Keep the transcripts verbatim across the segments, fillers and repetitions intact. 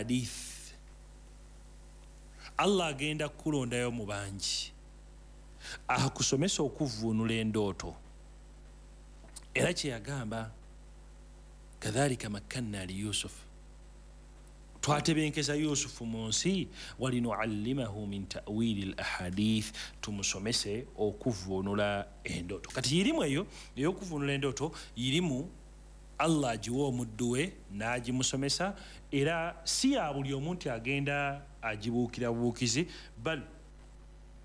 ahadith. Allah agenda kukulondayo mu bangi akusomesa okuvvuunula endooto. Era kye yagamba, kadhalika makkanna li Yusuf, twatebenkeza Yusufu mu nsi, walinuallimahu min ta'wili al ahadith, tumusomese okuvvuunula endooto. Kati yirimu eyo ey'okuvvuunula endooto, yirimu Allah agiwa omuddu we n'agimusomesa, era si ya buli omuntu agenda agibuukira bubuukizi, bal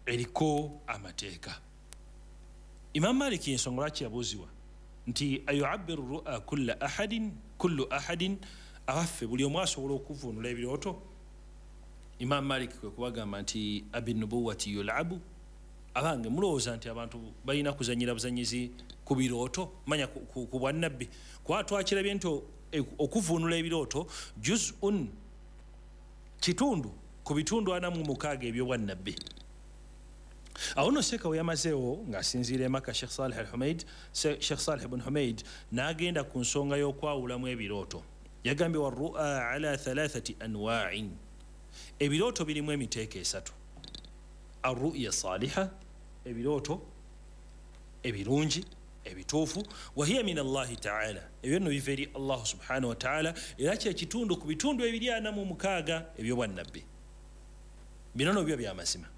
eriko amateeka. Imam Maliki ensonga lwaki yabuuzibwa nti ayuabbiru ru'a kulla ahadin kullu ahadin, abaffe buli omu asobola okuvvuunula ebirooto? Imam Malik kwe kubagamba nti abinubuwati yulabu, abange mulowooza nti abantu balina kuzanyira buzanyizi ku birooto, manya ku bwannabbi? Kuba twakirabye nti okuvvuunula ebirooto juz'un, kitundu ku bitundu ana mu mukaaga eby'obwannabbi. Awo nno Sheikh we yamazeewo ng'asinziira e Makka, Sheikh Salih al-Humaid, Sheikh Salih ibn Humaid n'agenda ku nsonga y'okwawulamu ebirooto. Yagambye warru'a ala thalathati anwa'in, ebirooto birimu emiteeko esatu. Arru'ya saliha, ebirooto ebirungi ebituufu, wahiya min Allahi ta'ala, ebyo nno biva eri Allah subhanahu wa ta'ala, era kye kitundu ku bitundu ebiri ana mu mukaaga eby'obwannabbi. Bino nno byo bya mazima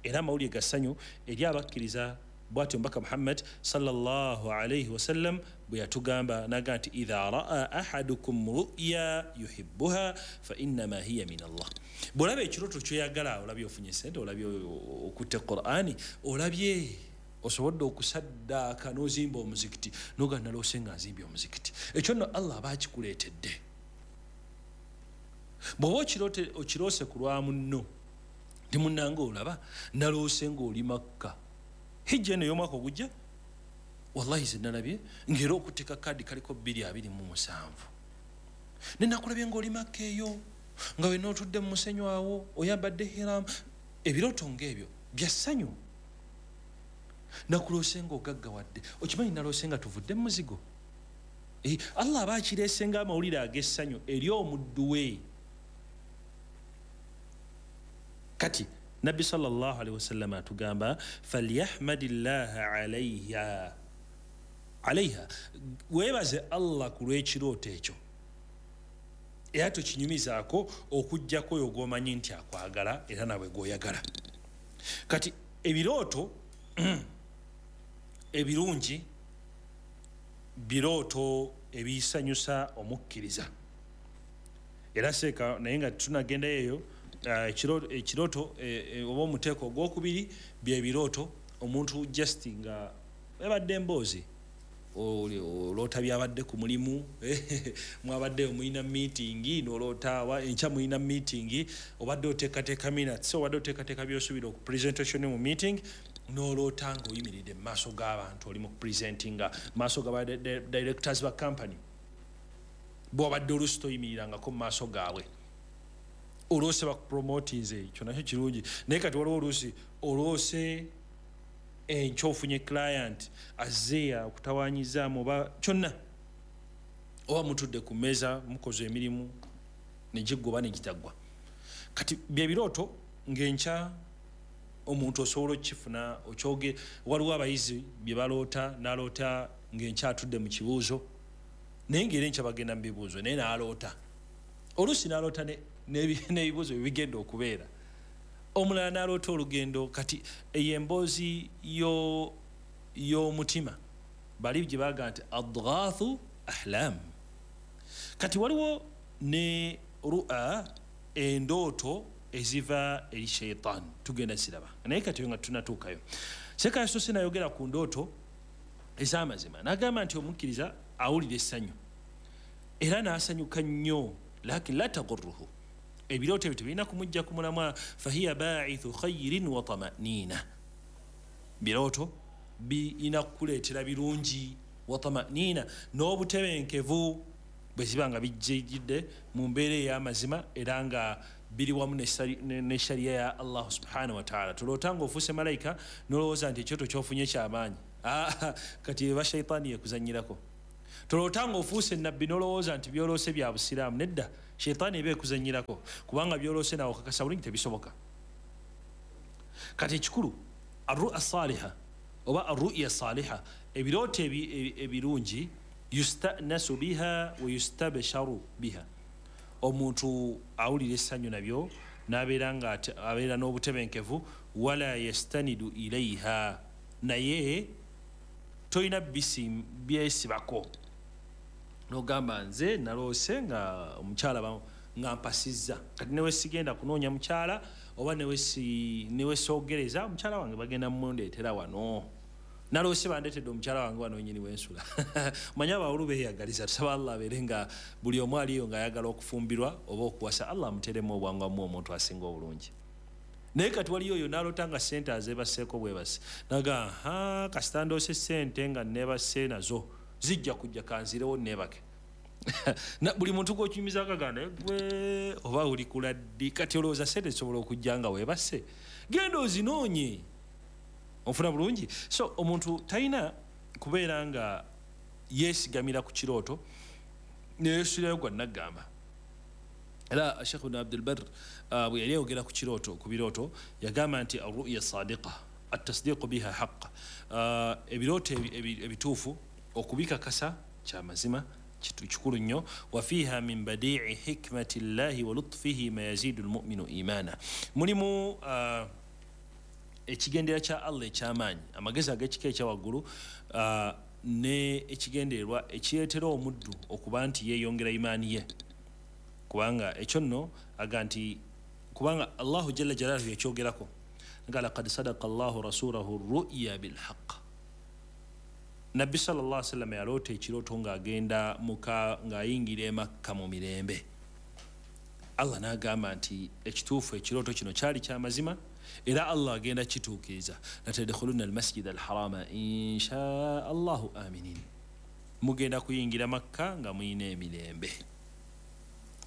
era amawulire ga ssanyu eri abakkiriza. Bw'atyo Omubaka Muhammad sallallahu alaihi wasallam bwe yatugamba naga nti idha raa ahadukum ru'ya yuhibbuha fa innama hiya min Allah. Bw'olaba ekirooto kyoyagala, olabye ofunye sente, olabye okutte Qur'ani, olabye osobodde okusaddaaka n'ozimba omuzikiti, noga naloose nga nzimbye omuzikiti, ekyo nno Allah aba akikuleetedde. Bw'oba okiroose ku lwa munno, nti munnange olaba naloose ng'oli Makka, hijja eno ey'omwaka ogujja, wallahi ze nalabye ng'era okuteeka kaadi kaliko bbiri abiri mu musanvu, ne nakulabye ng'oli Makka eyo nga wenna otudde mu musenyu awo oyambadde hiramu. Ebirooto ng'ebyo bya ssanyu. Nakuloose ng'ogaggawadde, okimanyi naloose nga tuvudde mu muzigo. Allah aba akireese ng'amawulire ag'essanyu eri omuddu we. Kati Nabbi sallallahu alaihi wasallam atugamba falyahmadillaha alaiha alaiha, weebaze Allah ku lw'ekirooto ekyo, era tokinyumizaako okuggyako oyo gw'omanyi nti akwagala era nawe gw'oyagala. Kati ebirooto ebirungi birooto ebisanyusa omukkiriza. Era seeka naye nga tunagendayo eyo, ekirooto oba omuteeko ogwokubiri byebirooto omuntu just nga ebadde emboozi, oloota byabadde ku mulimu, mwabadde omulina meeting, noloota enkya mulina meeting, obadde oteekateeka minutes, obadde oteekateeka by'osuubira oku presentation mu meeting, noloota ng'oyimiridde mu maaso g'abantu, oli mu kupresentinga maaso ga directors ba company, bw'obadde oluusi toyimirirangako mu maaso gaabwe, oloose bakupromotinze, ekyo nakyo kirungi. Naye kati waliwo oluusi oloose enkya ofunye client azze okutawanyizaamu oba kyonna, oba mutudde ku mmeeza mukoze emirimu negiggwa oba negitaggwa. Kati byebirooto ng'enkya omuntu osobola okukifuna okyoge. Waliwo abayizi bye baloota, n'aloota ng'enkya atudde mu kibuuzo, naye ng'era enkya bagenda mu bibuuzo, naye n'aloota oluusi n'aloota n'ebibuuzo bye bigenda okubeera. Omulala n'aloota olugendo. Kati eyo emboozi y'omutima bali gye baga nti adghathu ahlam. Kati waliwo ne ru'a, endooto eziva eri shaitan, tugenda ziraba, naye kati nga tunatuukayo. Seeka yasoose nayogera ku ndooto ez'amazima, n'agamba nti omukkiriza awulira essanyu era n'asanyuka nnyo, lakin la tagurruhu, ebirooto ebyo tebirina kumujja ku mulamwa. Fahiya baithu khairin wa tamanina, birooto birina kukuleetera birungi, wa tamanina, n'obutebenkevu bwe ziba nga bijjidde mu mbeera ey'amazima era nga biri wamu ne sharia ya Allah subhanahu wa ta'ala. Tuloota ng'ofuuse malayika n'olowooza nti ekyoto ky'ofunye kyamaanyi, kati eba shaitaani yekuzannyirako. Tuloota ng'ofuuse nabbi n'olowooza nti byoloose bya busiraamu, nedda, Sheitaani eba ekuzannyirako, kubanga byoloose nawe okakasa bulungi tebisoboka. Kati ekikulu arru'a saliha oba arru'ya saliha, ebirooto ebirungi, yustanasu biha wa yustabsharu biha, omuntu awulira essanyu nabyo n'abeera nga abeera n'obutebenkevu. Wala yastanidu ilaiha, naye toyina byesibako nogamba nze naloose nga omukyala nga mpasizza, kati newe sigenda kunoonya mukyala oba newe soogereza omukyala wange bagenda mundeetera wano, naloose bandeetedde omukyala wange wano nyini wensula. Manya abawulu beeyagaliza, tusaba Allah abeere nga buli omu aliyo ng'ayagala okufumbirwa oba okuwasa, Allah amuteremu obwangu omuntu asinga obulungi. Naye kati waliyo oyo n'aloota nga ssente azeebaseeko bwebase, naga ha kasita ndoose ssente nga neebase nazo zijja kujja kanzirewo neebake. Buli muntu gw'okinyumiza akaganda gwe oba oli kula ddi, kati olowooza ssente zisobola okujja nga weebase, genda ozinoonye. Onfuna bulungi? So omuntu talina kubeera nga yeesigamira ku kirooto neyesuulirayo gwa naggamba. Era Sheikh Ibn Abdul Barr bwe yali ayogera ku kirooto, ku birooto, yagamba nti arru'ya sadiqa at-tasdiqu biha haqq, ebirooto ebituufu okubikakasa kya mazima kikulu nnyo. Wa fiha min badi'i hikmati llahi wa lutfihi ma yazidu almu'minu imana, mulimu ekigendera kya Allah ekyamaanyi, amagezi ag'ekika ekyawaggulu, ne ekigendererwa ekireetera omuddu okuba nti yeeyongera imaani ye. Kubanga ekyo nno aga nti kubanga Allahu jalla jalaaluhu yakyogerako nga laqad sadaqa Allahu rasulahu ru'ya bilhaq, Nabbi sallallahu alaihi wasallam yaloota ekirooto ng'agenda muka ng'ayingira e Makka mu mirembe. Allah n'agamba nti ekituufu ekirooto kino kyali kya mazima, era Allah agenda kituukiriza, latadkhulunna almasjid alharama insha Allahu aminin, mugenda kuyingira Makka nga muyina emirembe.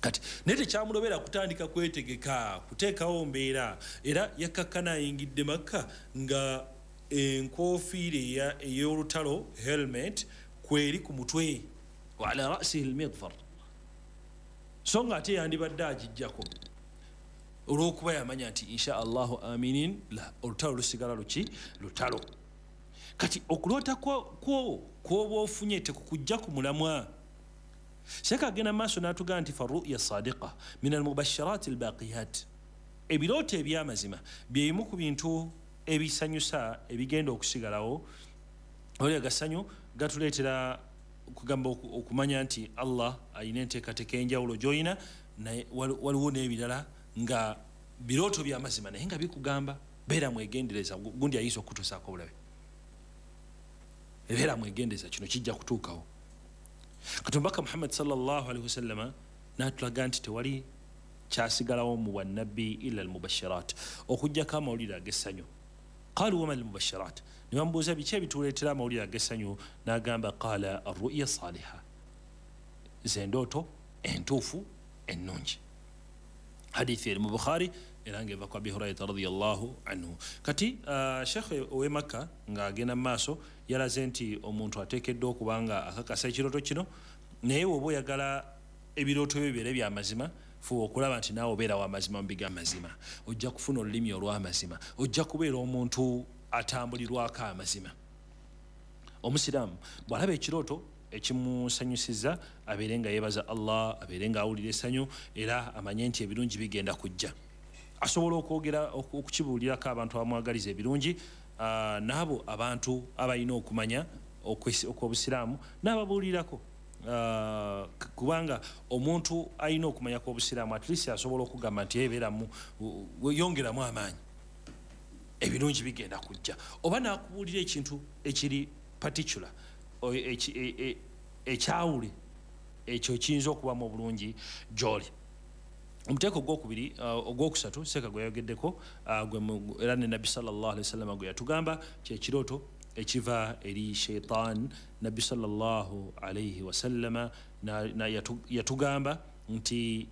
Kati naye tekyamulobera kutandika kwetegeka kuteekawo mbeera, era yakkakkana ayingidde Makka nga enkofiira ey'olutalo helmet kweri ku mutwe, wa ala ra'sihi almidfar, so nga ate yandibadde agijjako olw'okuba yamanya nti insha Allahu aminin, la olutalo lusigala luki lutalo. Kati okuloota kwoba ofunye tekukujja ku mulamwa. Sheikh agenda maaso n'atugamba nti farru'ya sadiqa min almubashirat albaqiyat, ebirooto ebyamazima byebimu ku bintu ebisanyusa ebigenda okusigalawo. Oli agasanyu gatuleetera kugamba okumanya nti Allah alina enteekateeka enjawulo gy'olina, naye waliwo n'ebirala nga birooto byamazima naye nga bikugamba beera mwegendereza, gundi ayinza okutuusaako obulabe, beera mwegendereza kino kijja kutuukawo. Kati omubaka Muhammad sallallahu alaihi wasallama n'atulaga nti tewali kyasigalawo mu bwannabbi illa almubashirat, okuggyako amawulire ag'essanyu. Qalu wama almubashirat, ne bamubuuza biki ebituleetera amawulire ag'essanyu, n'agamba qala arru'ya saliha, ze ndooto entuufu ennungi. Hadithi eri mu Bukhari era ng'eva ku Abi Hurairata radiyallahu anhu. Kati uh, Sheikh ow'e Makka ng'agenda mu maaso yalaze nti omuntu ateekeddwa okuba nga akakasa ekirooto kino, naye bw'oba oyagala ebirooto byo bibeere bya mazima, fuba okulaba nti naawe obeera wa mazima mu bigamazima, ojja kufuna olulimi olw'amazima, ojja kubeera omuntu atambulirwako amazima. Omusiraamu bw'alaba ekirooto ekimusanyusiza abeere nga yeebaza Allah, abeere nga awulira essanyu, era amanye nti ebirungi bigenda kujja. Asobola okwogera okukibuulirako abantu abamwagaliza ebirungi, n'abo abantu abalina okumanya okw'obusiraamu n'ababuulirako, kubanga omuntu alina okumanya kw'obusiraamu at least asobola okugamba nti ebeeramu yongeramu amaanyi, ebirungi bigenda kujja, oba n'akubuulira ekintu ekiri particular ekyawule ekyo kiyinza okubamu obulungi gy'oli. Omuteeko ogwokubiri ogwokusatu Seeka gwe yayogeddeko era ne Nabbi sallallahu alaihi wasallam gwe yatugamba kyekirooto ekiva eri shaitan. Nabbi sallallahu alaihi wasallama yatugamba nti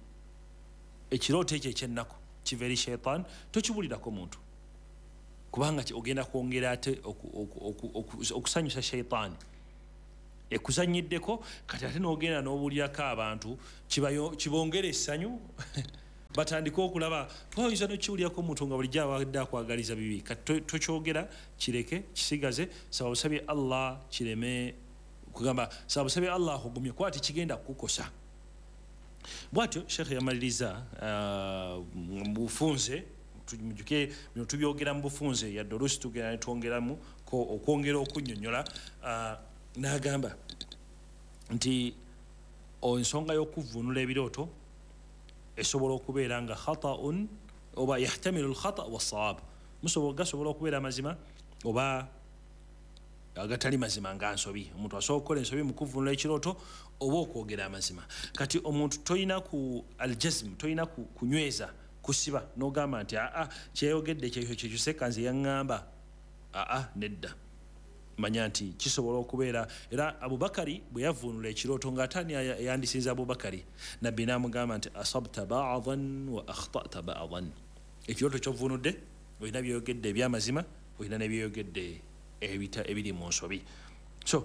ekirooto ekyo ekyennaku kiva eri shaitan, tokibulirako muntu, kubanga ogenda kwongera ate okusanyusa shaitaani. Ekuzanyiddeko kati ate n'ogenda n'obuulirako abantu kibongere essanyu batandike okulaba oyinza nokiwulirako omuntu nga bulijjo abadde akwagaliza bibi. Kati tokyogera, kireke kisigaze, saba busabye Allah kireme kugamba, saba busabye Allah akugumye kuba tekigenda kukukosa. Bwatyo Sheikh yamaliriza mu bufunze, mujjuke bino tubyogera mu bufunze, yadde oluusi tugenda ne twongeramu okwongera okunnyonnyola, n'agamba nti ensonga y'okuvvuunula ebirooto esobola okubeera nga khata'un oba yahtamilu al-khata' was-sawab, musobola gasobola okubeera amazima oba agatali mazima nga nsobi. Omuntu asobola okukola ensobi mu kuvvuunula ekirooto oba okwogera amazima. Kati omuntu toyina ku al-jazm, toyina kunyweza kusiba n'ogamba nti aa kyeyogedde kyekyo kyekyo sekanze yaŋŋamba, aa nedda. Manya nti kisobola okubeera. Era Abubakari bwe yavvuunula ekirooto ng'ate ani yandisinze Abubakari, Nabbi n'amugamba nti asabta ba'dan wa akhta'ta ba'dan, ekirooto ky'ovvuunudde olina byeyogedde ebyamazima, olina n'ebyeyogedde ebiri mu nsobi. So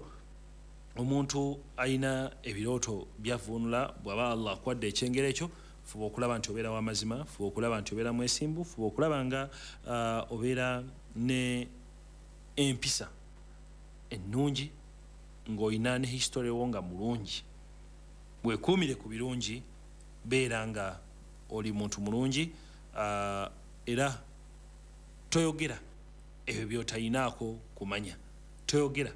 omuntu alina ebirooto byavvuunula, bw'aba Allah akwadde ekyengera ekyo, fuba okulaba nti obeera w'amazima, fuba okulaba nti obeera mwesimbu, fuba okulaba nga obeera ne empisa ennungi, ng'olina ne history wo nga mulungi. Weekuumire ku birungi, beera nga oli muntu mulungi, era toyogera ebyo by'otayinaako kumanya, toyogera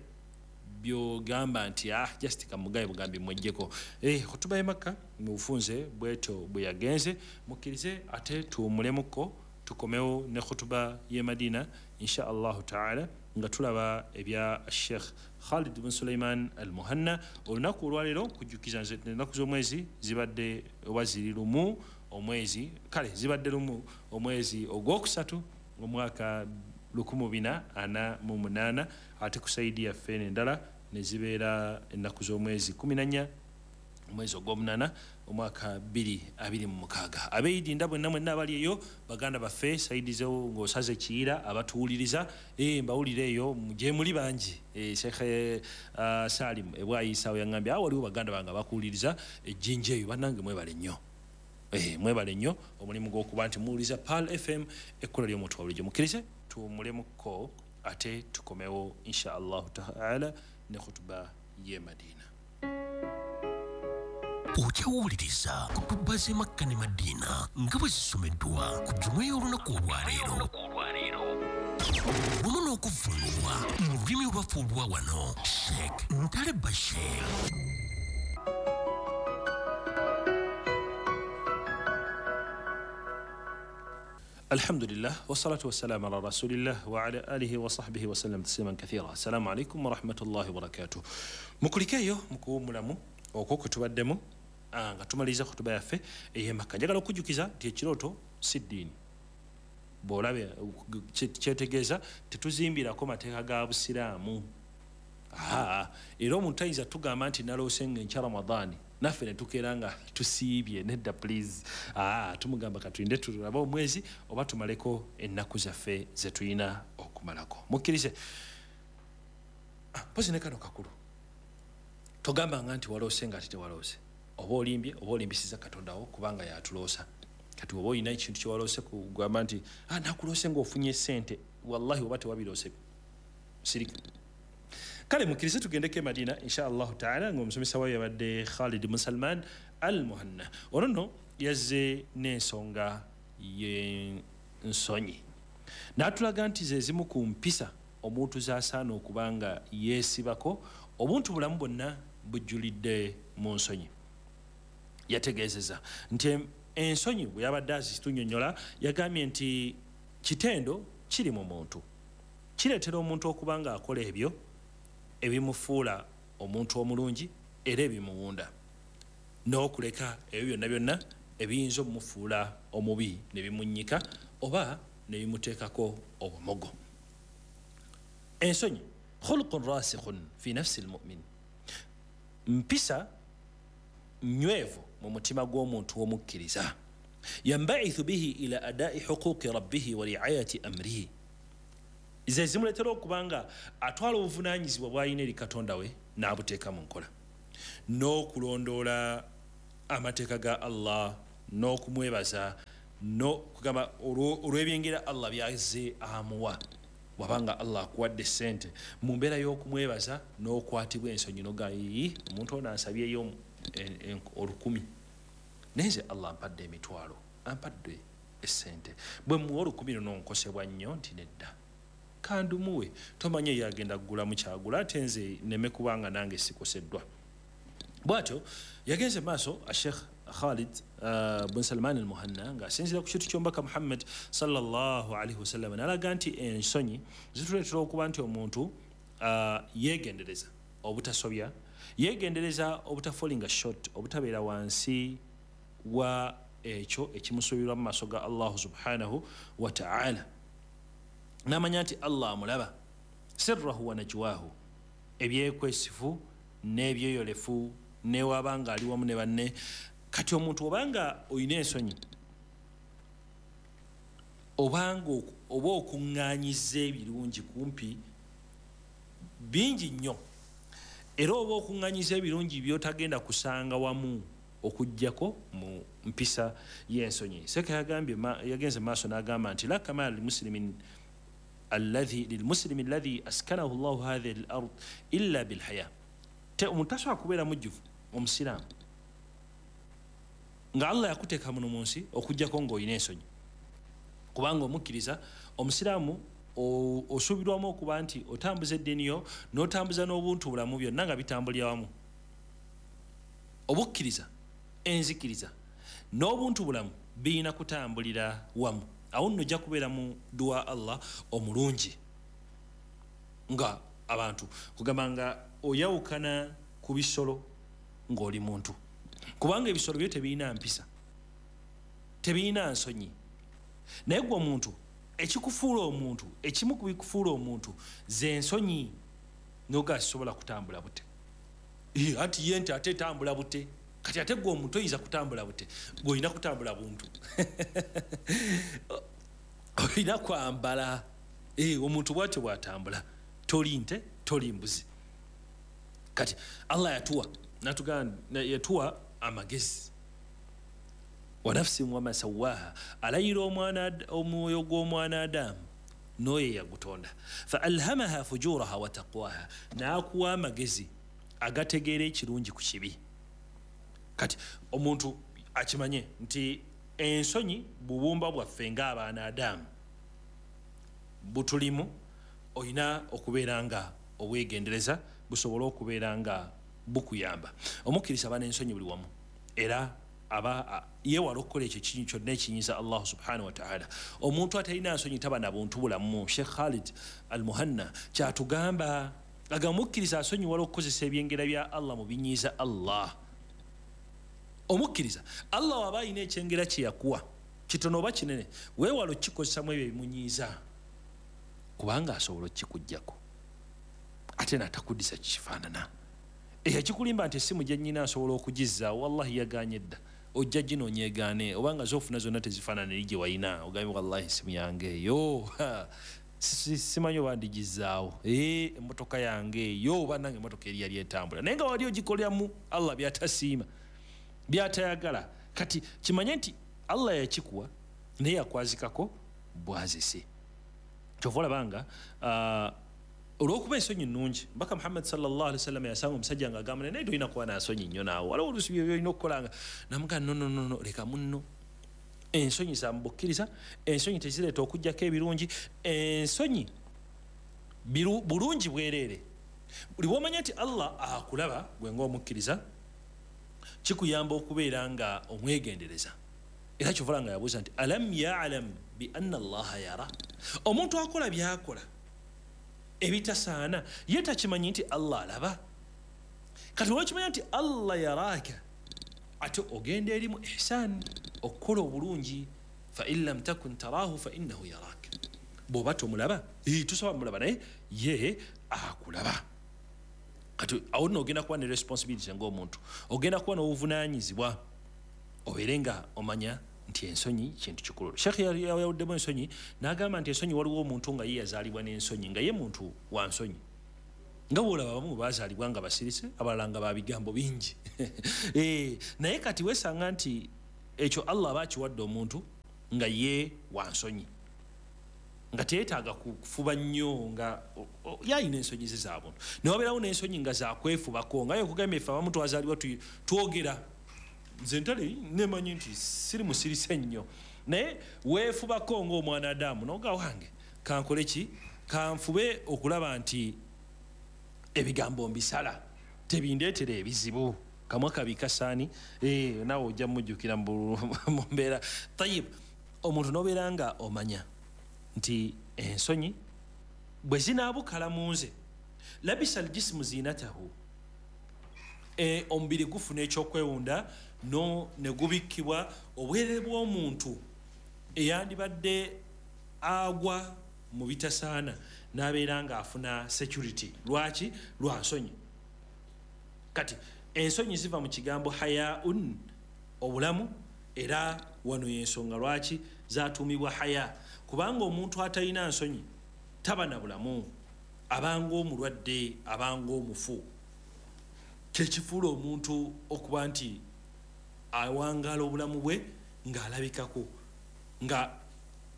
by'ogamba nti ah just kamugaye bugambi mwejjeko. Eh, khutuba y'e Makka mu bufunze bwetyo bwe yagenze, mukkirize ate tuwummulemuko tukomewo ne khutuba y'e Madina insha Allahu taala, nga tulaba ebya Sheikh Khalid bin Sulaiman Al-Muhanna. Olunaku olwaleero kujjukiza nze ennaku z'omwezi zibadde oba ziri lumu omwezi, kale zibadde lumu omwezi ogwokusatu omwaka lukumi bina ana mu munaana, ate ku saidi yaffe endala ne zibeera ennaku z'omwezi kumi na nnya omwezi ogw'omunaana omwaka bbiri abiri mu mukaaga. Abeeyidi nda bwenna mwenna abali eyo baganda baffe saidi zewo ng'osaze Kiyira abatuwuliriza, eh, mbawulire eyo gye muli bangi. Eh, Sheikh uh, Salim Ebwayisa yaŋŋambye awo waliwo baganda bange abakuwuliriza ejjinja eyo, bannange mwebale nnyo. Eh, mwebale nnyo omulimu gw'okuba nti muwuliriza Pearl F M ekkula ly'omuntu wa bulijjo. Mukkirize tuwummulemuko ate tukomewo insha Allahu taala ne khutuba y'e Madina. Okyawuliriza kutuba z'e Makka ne Madina nga bwe zisomeddwa ku jjuma y'olunaku olwaleero wamu n'okuvvuunulwa mu lulimi olwaffe olwa wano Sheikh Ntale Bashir. Alhamdulillah wassalatu wassalamu ala rasulillah wa ala alihi wa sahbihi wa sallam tasliman kathira. Assalamu alaikum wa rahmatullahi wa barakatuh. Mukulikeeyo mukuwummulamu okwo kwe tubaddemu nga tumaliriza khutuba yaffe ey'e Makka. Njagala okujjukiza nti ekirooto si ddiini. Bw'olaba kyetegeeza tetuzimbirako mateeka ga Busiraamu. Era omuntu tayinza tugamba nti naloose ng'enkya Ramadaani naffe ne tukeera nga tusiibye, nedda please. Tumugamba katulinde tulabe omwezi oba tumaleko ennaku zaffe ze tulina okumalako. Mukkirize mpozi ne kano kakulu, togambanga nti waloose nga ate tewaloose, oba olimbye oba olimbisiza Katonda wo kubanga yatuloosa. Kati oba olina ekintu kyewaloose kugamba nti ah, nakuloose ng'ofunye ssente, wallahi oba tewabiroose sirika. Kale mukkirize tugendeko e Madina insha Allahu taala ng'omusomesa waayo yabadde Khalid bin Salman Al-Muhanna. Ono nno yazze n'ensonga y'ensonyi n'atulaga nti ze zimu ku mpisa omuntu z'asaana okuba nga yeesibako. Obuntu bulamu bwonna bujjulidde mu nsonyi. Yategeezeza nti ensonyi bwe yabadde azitunnyonnyola yagambye nti kitendo kiri mu muntu, kireetera omuntu okuba ng'akola ebyo ebimufuula omuntu omulungi era ebimuwunda, n'okuleka ebyo byonna byonna ebiyinza okumufuula omubi ne bimunnyika oba ne bimuteekako obumogo. Ensonyi khuluqun rasikhun fi nafsi almu'min, mpisa nywevu mu mutima gw'omuntu omukkiriza. Yambaithu bihi ila adai huquqi rabbihi wa riayati amrihi, Ze zimuleetera okuba nga atwala obuvunaanyizibwa bw'alina eri Katonda we n'abuteeka mu nkola, n'okulondoola amateeka ga Allah n'okumwebaza, kugamba olw'ebyengera Allah byazze amuwa. Bw'abanga Allah akuwadde ssente, mu mbeera y'okumwebaza n'okwatibwa ensonyi n'ogamba, omuntu ono ansabyeyo olukumi, naye nze Allah ampadde emitwalo, ampadde essente, bwe muwa olukumi luno nkosebwa nnyo nti nedda, kandumuwe, tomanye yagenda kugulamu kyagula, ate nze nneme kubanga nange sikoseddwa. Bw'atyo yagenze maaso Sheikh Khalid uh, bin Salman al-Muhanna ng'asinziira ku kintu ky'omubaka Muhammad sallallahu alaihi wasallam, n'alaga nti ensonyi zituleetera okuba nti omuntu uh, yeegendereza obutasobya, yeegendereza obutafolinga short, obutabeera wansi wa ekyo ekimusuubirwa mu maaso ga Allah subhanahu wa ta'ala, n'amanya nti Allah amulaba, sirrahu wa najwahu, ebyekwesifu n'ebyeyolefu, newabanga ali wamu ne banne. Kati omuntu obanga oyina ensonyi, obanga oba okuŋŋaanyiza ebirungi kumpi bingi nnyo, era oba okuŋŋaanyiza ebirungi by'otagenda kusanga wamu okuggyako mu mpisa y'ensonyi. Seka yagambye, yagenze maaso n'agamba nti la kamala limuslimin alladhi lilmuslimi alladhi askanahu Allahu hadhihi al-ard illa bilhaya. Omuntu tasobola kubeera mujjuvu omusiraamu nga Allah yakuteeka muno mu nsi okuggyako ng'olina ensonyi, kubanga omukkiriza omusiraamu osuubirwamu okuba nti otambuza eddiini yo n'otambuza n'obuntu bulamu byonna nga bitambulira wamu. Obukkiriza, enzikiriza n'obuntu bulamu birina kutambulira wamu. Awo nno ojja kubeera mu dduwa Allah omulungi, nga abantu kugamba nga oyawukana ku bisolo ng'oli muntu, kubanga ebisolo byo tebirina mpisa, tebirina nsonyi. Naye gwe omuntu, ekikufuula omuntu, ekimu ku bikufuula omuntu ze nsonyi, n'oga sisobola kutambula bute, anti ye nti ate etambula bute. Kati ate gwe omuntu oyinza kutambula bute, gwe olina kutambula buntu olina kwambala. Omuntu bw'atyo bw'atambula, toli nte, toli mbuzi. Kati Allah yatuwa natugamba, yatuwa amagezi, wa nafsin wama sawaha, alayira omwana omwoyo gw'omwana Adamu n'oyo yagutonda, fa alhamaha fujuraha wa taqwaha, n'akuwa amagezi agategeera ekirungi ku kibi. Kati omuntu akimanye nti ensonyi bubumba bwaffe ng'abaana Adamu butulimu, olina okubeera nga obwegendereza busobole okubeera nga bukuyamba. Omukkiriza aba n'ensonyi buli wamu, era aba yeewala okukola ekyo kyonna ekiyinza Allah subhanahu wa ta'ala. Omuntu atalina nsonyi taba na buntu bulamu. Sheikh Khalid al-Muhanna kyatugamba, aga omukkiriza asonyiwala okukozesa ebyengera bya Allah mu binyiiza Allah. Omukkiriza Allah waba alina ekyengera kye yakuwa, kitono oba kinene, weewala okukikozesamu ebyo ebimunyiiza, kubanga asobola okukikuggyako ate n'atakuddisa kifaanana. Ekikulimba nti essimu gye nnyina asobola okugizza, wallahi yagaanye dda, ojja ginoonya egaane, obanga z'ofuna zonna tezifaanana eri gye walina, ogambye wallahi essimu yange eyo simanyi oba ndigizzaawo, emmotoka yange eyo oba nange emmotoka eri yali etambula, naye nga wali ogikoleramu Allah by'atasiima, by'atayagala. Kati kimanye nti Allah yakikuwa naye yakwazikako bwazise. Kyova olaba nga olw'okuba ensonyi nnungi, Mbaka Muhammad sallallahu alaihi wasallam yasanga omusajja ng'agamba naye tolina kuba na nsonyi nnyo naawe, waliwo oluusi bye by'olina okukolanga. Namugamba no no no, leka munno. Ensonyi za mu bukkiriza, ensonyi tezireeta okuggyako ebirungi, ensonyi bulungi bwereere. Buli bw'omanya nti Allah akulaba gwe ng'omukkiriza, kikuyamba okubeera nga omwegendereza. Era kyova nga yabuuza nti alam ya'lam bi anna Allaha yara, omuntu akola by'akola ebitasaana ye takimanyi nti Allah alaba. Kati olwokimanya nti Allah yaraka, ate ogenda eri mu ihsan, okukola obulungi. Fa in lam takun tarahu fa innahu yarak, bw'oba tomulaba, tosobola mulaba, naye ye akulaba. Kati awo nno ogenda kuba ne responsibility ng'omuntu, ogenda kuba n'obuvunaanyizibwa, obeere nga omanya Nti ensonyi kintu kikulu. Sheikh yawuddemu ensonyi n'agamba nti ensonyi waliwo omuntu nga ye yazaalibwa n'ensonyi, nga ye muntu wa nsonyi, nga bw'olaba abamu baazaalibwa nga basirise, abalala nga ba bigambo bingi. Eh, naye kati weesanga nti ekyo Allah aba akiwadde omuntu nga ye wa nsonyi, nga teyeetaaga kufuba nnyo, nga yalina ensonyi ze za buntu. Ne wabeerawo n'ensonyi nga zakwefubako, nga ye okugamba ffe abamu twazaalibwa twogera, nze ntale nemanyi nti siri musirise nnyo, naye weefubako ng'omwana Adamu n'oga wange kankole ki, kanfube okulaba nti ebigambo mbisala tebindeetera ebizibu. Kamwa kabi kasaani, eh, naawe ojja mujjukira mu mbeera. Tayib, omuntu n'obeera nga omanya nti ensonyi bwe zinaabukala mu nze, labisa aljismu zinatahu, e, omubiri gufuna ekyokwewunda no ne gubikkibwa obwerere bw'omuntu eyandibadde agwa mu bitasaana n'abeera ng'afuna security. Lwaki? Lwa nsonyi. Kati ensonyi ziva mu kigambo hayaun, obulamu, era wano y'ensonga lwaki zatuumibwa haya, kubanga omuntu atalina nsonyi taba na bulamu, abanga omulwadde, abanga omufu. Kyekifuula omuntu okuba nti awangaala obulamu bwe ng'alabikako, nga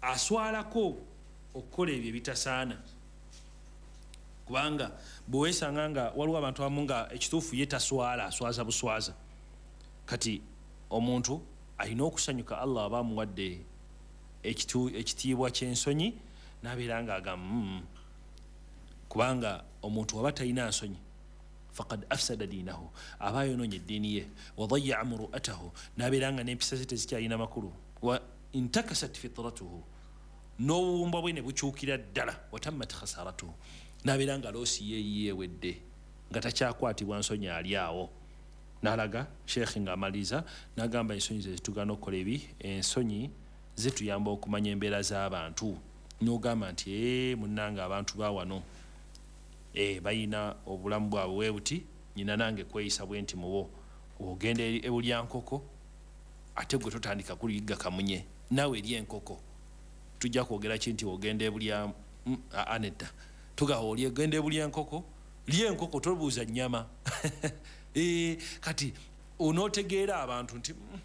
aswalako okukola ebyo ebitasaana. Kubanga bwe weesanga nga waliwo abantu abamu nga ekituufu ye taswala, aswaza buswaza. Kati omuntu alina okusanyuka Allah aba amuwadde ekitiibwa ky'ensonyi n'abeera ng'agamba mm. Kubanga omuntu waba talina nsonyi faqad afsada diinahu, aba ayonoonye eddiini ye, wa dayaa muru'atahu, n'abeera nga n'empisa ze tezikyalina makulu, wa intakasat fitratuhu, n'obuwumba bwe ne bukyukira ddala, watammat khasaratuhu, n'abeera nga loosi ye yeewedde, nga takyakwatibwa nsonyi ali awo. N'alaga Sheikh ng'amaliriza n'agamba ensonyi ze zitugaana okukola ebi, ensonyi zituyamba okumanya embeera z'abantu. N'ogamba nti ee munnange abantu ba wano e bayina obulamu bwabwe bwe buti, nnyina nange kweyisa bwe nti mubo. Ogenda ebulya nkoko ate gwe totandika kuligga kamunye, naawe eri enkoko. Tujja kwogera ki nti ogenda ebulya anedda, tugawa oli ogenda ebulya enkoko, lya enkoko tobuuza nnyama. E, kati onootegeera abantu nti mm,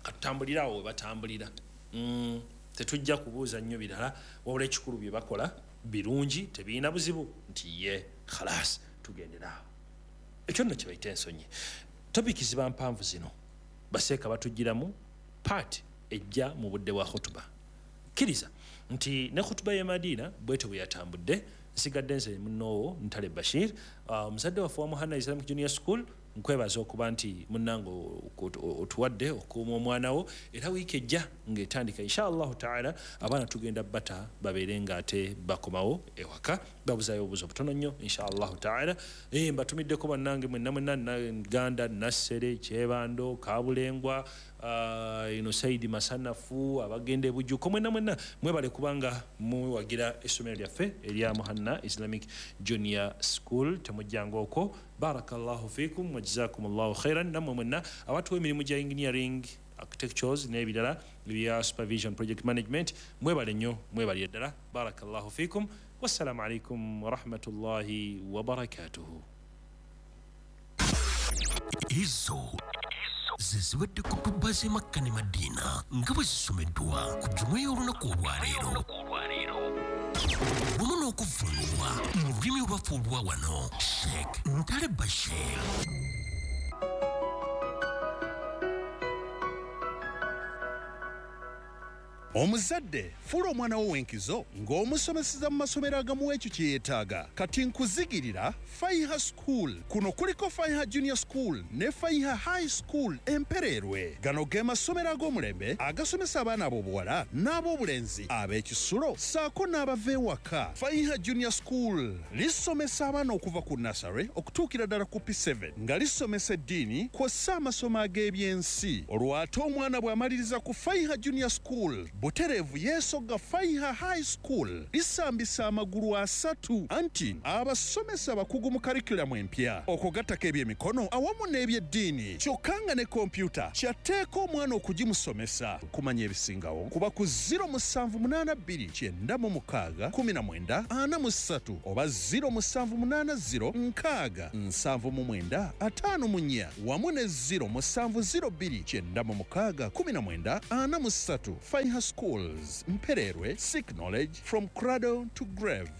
katutambulira awo we batambulira, mm, tetujja kubuuza nnyo birala, wabula ekikulu bye bakola birungi tebirina buzibu, nti ye khalas tugendera awo. Ekyo nno kye bayita ensonyi. Topiki ziba mpanvu zino, baseeka batugiramu paati ejja mu budde bwa khutuba. Kkiriza nti ne khutuba y'e Madiina bwetyo bwe yatambudde. Nsigadde nze munnoowo Ntale Bashir, omuzadde waffe wa Muhanna Islamic Junior School. Nkwebaza okuba nti munnange otuwadde okukuuma omwana wo, era wiiki ejja ng'etandika insha Allahu taala abaana tugenda bata babeere ng'ate bakomawo ewaka, babuzaayo obubuzo butono nnyo insha Allahu taala. Eh, mbatumiddeko bannange mwenna mwenna, Ganda, Nassere, Kyebando, Kabulengwa, uh, ino Saidi Masanafu, abagenda e Bujuko, mwenna mwenna mwebale kubanga muwagira essomero lyaffe erya Muhanna Islamic Junior School. Temujjanga okwo. Barakallahu fikum wa jazakumullahu khairan. Nammwe mwenna abatuwa emirimu gya engineering, architectures n'ebirala ebya supervision, project management, mwebale nnyo, mwebalire ddala. Barakallahu fikum, wassalamu alaikum warahmatullahi wabarakatuhu. Ezo ze zibadde kutuba z'e Makka ne Madiina nga bwe zisomeddwa ku jjuma y'olunaku olwaleero, wamu n'okuvvuunulwa mu lulimi olwaffe olwa wano, Sheikh Ntale Bashir. Omuzadde fuula omwana wo w'enkizo ng'omusomeseza mu masomero agamuwa ekyo kye yeetaaga. Kati nkuzigirira Faiha School. Kuno kuliko Faiha Junior School ne Faiha High School Empereerwe. Gano ge masomero ag'omulembe agasomesa abaana ab'obuwala n'ab'obulenzi ab'ekisulo ssaako n'abava ewaka. Faiha Junior School lisomesa abaana okuva ku nursery okutuukira ddala ku P seven nga lisomesa eddiini kw'ossa amasomo ag'ebyensi. Olwo ate omwana bw'amaliriza ku Faiha Junior School Butereevu yeesogga Faiha High School, lisambisa amagulu asatu, anti abasomesa bakugu mu curriculum empya, okugattako ebyemikono awamu n'ebyeddiini, kyokka nga ne kompyuta kyatteeka omwana okugimusomesa. Kumanya ebisingawo kuba ku zero musanvu munaana bbiri kyenda mu mukaaga kumi na mwenda ana mu ssatu oba zero musanvu munaana zero nkaaga nsanvu mu mwenda ataano mu nnya wamu ne zero musanvu zero bbiri kyenda mu mukaaga kumi na mwenda ana mu ssatu. Faiha Schools, Mpererwe, seek knowledge from cradle to grave.